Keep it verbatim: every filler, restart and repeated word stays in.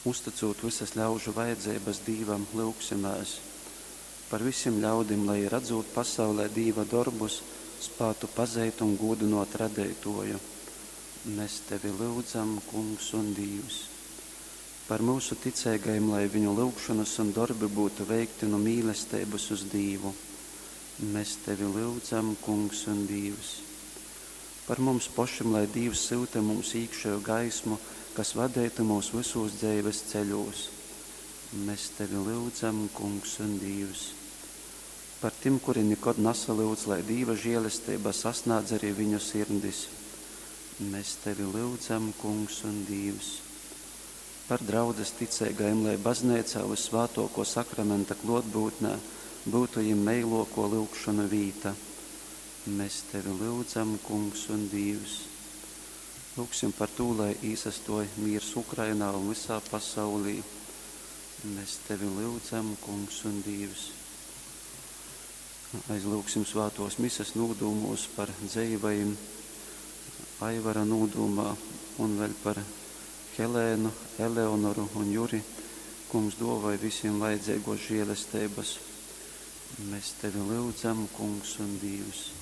Uztycūt vysas ļaužu vajadzeibas Dīvam, lyugsimēs. Par vysim ļaudim, lai jī, radzūt pasaulē Dīva dorbus, spātu pazeit un gūdynōt Radeitōju. Mes tevi lyudzam, Kungs un Dīvs. Par myusu ticeigajim, lai viņu lyugšonas un dorbi byutu veikti nu mīlesteibas uz Dīvu. Mes tevi lyudzam, Kungs un Dīvs. Par mums pošim, lai Dīvs syuta mums īkšeju gaismu, kas vadeitu myus vysūs dzeives ceļūs. Mes tevi lyudzam, Kungs un Dīvs. Par tim, kuri nikod nasalyudz, lai Dīva žēlesteiba sasnādz arī viņu sirdis. Mes tevi lyudzam, Kungs un Dīvs. Par draudzes ticeigajim, lai bazneicā vyssvātōkō sakramenta klōtbyutnē byutu jim meilōkō lyugšonu vīta. Mes tevi lyudzam, Kungs un Dīvs. Lūgsim par tū, lai īsastōj mīrs Ukrainā un vysā pasaulī. Mēs tevi lyudzam, Kungs un Dīvs. Aizlyugsim svātōs mises nūdūmūs par dzeivajim Aivara nūdūmā un vēļ par Helēnu, Eleonoru un Juri. Kungs dōvoj visiem vajadzeigos žēlesteibas. Mēs tevi lyudzam, Kungs un Dīvs.